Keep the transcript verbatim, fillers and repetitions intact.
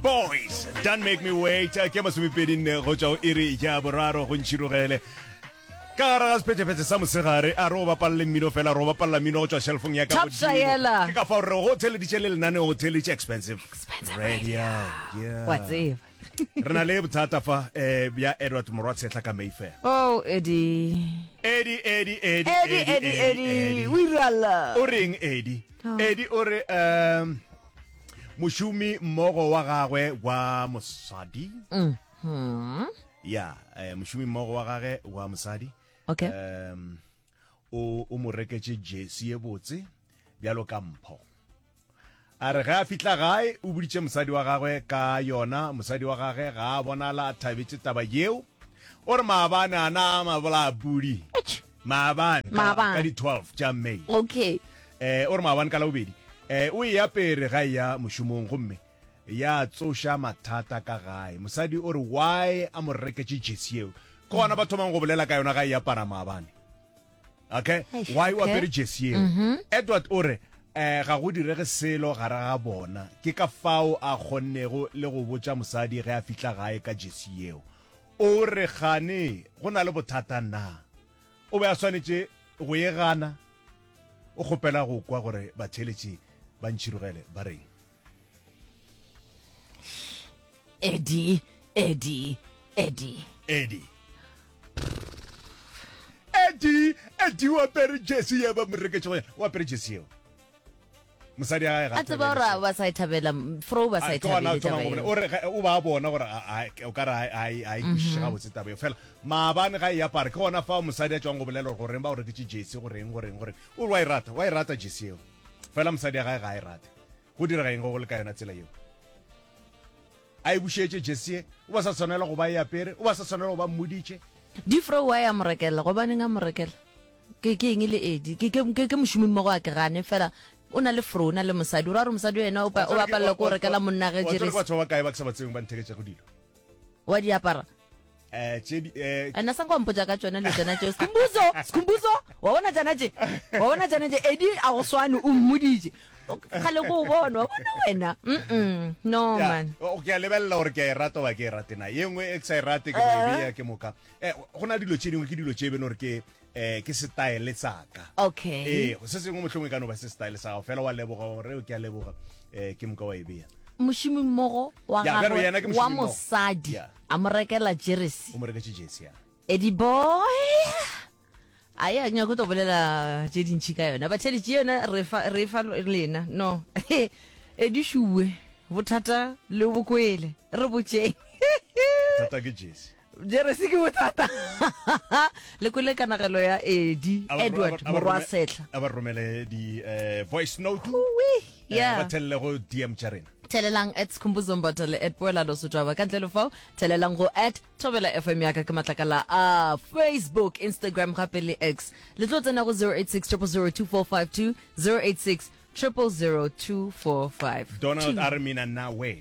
Boys, Don't Make Me Wait. Ke masomepedi nne go tšwa go iri ya boraro go ntšhirogele. Ka gare ga sephetephete sa mosegare, a re o bapalle mmino fela, re o bapalla mmino go tšwa shelfong ya ka Top godimo. Shayela. Ke ka fao re go theleditše le lenaneo go theleditše Expensive Expensive Radio. Yeah. Wa tseba. Re na le bothata fa eh, bja Edward Morwatshetla ka Mayfair. Oh, Eddie. Eddie, Eddie, Eddie, Eddie, Eddie, Eddie. O irala. O reng Eddie? Oh. Eddie o re um mošomi mmogo wa gagwe wa mosadi. Mhm. Ya, eh, mošomi mmogo wa gagwe wa mosadi. Okay. Um o o mo reketše jersey ye botse bjalo ka mpho. A re ge a fihla gae o boditše mosadi wa gagwe ka yona, mosadi wa gagwe ga a bonala a thabetše taba yeo. O re maabane a na mabola pudi. Maabane ka, Maabane. ka di twelve tša May. Okay. Eh, o re maabane ka Labobedi eh, o e apere ga e ya mošomong gomme ya tsoša mathata ka gae. Mosadi o re why a mo reketše jersey yeo, ke gona ba thomang go bolela ka yona ga e apara maabane. Okay, Eish, why o okay. apere jersey yeo? Edward o re eh, ga go direge selo gare ga bona, ke ka fao a kgonnego le go botša mosadi ge a fihla gae ka jersey yeo. O re gane go na le bothata na, o be a swanetše go e gana? O kgopela go kwa gore batheeletši ba ntšhirogele ba reng. Eddie, Eddie, Eddie. Eddie, Eddie, Eddie o apere jersey ye ba mo reketše go yona. O apere jersey yeo, mosadi ya gae ga A tseba thabele gore seo. ba sa e thabela, fro ba sa A, e ke gona a thabele thomang taba go bolela. eo. O re ge- o ba bona gore a- a- o ka re a- a a e kwešiše gabotse taba eo. Fela maabane ga e apare, ke gona fao mosadi a tšwang go bolela gore goreng ba o reketše jersey, goreng, goreng, goreng. O re wa e rata, wa e rata jersey eo, fela mosadi ya gae ga a e rate. Go direga eng go go le ka yona tsela yeo? A e bušetše jersey ye, o ba sa tshwanela go ba e apere, o ba sa tshwanela go ba mmoditše. Difro wa ya mo rekela, gobaneng a mo rekela? Ke ke eng e le Eddie? Ke ke ke ke mošomi mmogo a ke gane fela o na le fro, o na le mosadi. O ra gore mosadi yena o pa- o bapalela ko rekela monna ge Wa tseba ke jeresi. batho ba bakae ba ke sa ba tsebeng ba ntheketšego dilo? Wa di apara. Eh, tše di, eh, Ena sa nka wa mpotša ka tšona le tšona tšeo. Skhumbuzo, Skhumbuzo, wa bona tšana tše? Wa bona tšana tše? Eddie a go swane, o mmoditše. Kgale ko o bona, wa bona wena. Mm-mm. No Ya, man. o- ke a lebelela gore ke a e rata goba ke e rate na. Ye nngwe e ke sa e rate ke no e bea ke moka. Eh, go na dilo tše dingwe ke dilo tše e beno gore ke eh, ke style sa ka. Okay. Ee, se sengwe mohlomongwe e ka no ba se style sa gago fela, wa leboga gore ke a leboga, eh, ke moka wa e bea. Mošomi mmogo wa Ya, bjalo yena gagwe ke wa mošomi mmogo. mosadi Ya. a mo rekela jeresi. O mo reketše jersey ya. Eddie boy. A ya nyako to bolela tše dintši ka yona. Batheletši yona re fa re fa lena. No. Eddie Shuwe, bothata le bokwele. Re botšeng. Thata ke jersey. Jeresi ke bothata. Le kwele kanagelo ya Eddie A ba- Edward a ba- a ba morwa rome- Setla. A ba romele di eh, voice note. Ui, Eh, yeah. ba thelele go D M tša rena. Thelelang at Skhumbuzo Mbatha le at Poelano Sotaba. Ka ntle le fao, thelelang go at Thobela F M ya ka ke matlakala a Facebook, Instagram gape le X. Le tlo tsena go zero eight six triple zero two four five two, zero eight six triple zero two four five Donald two. a re mina nawe.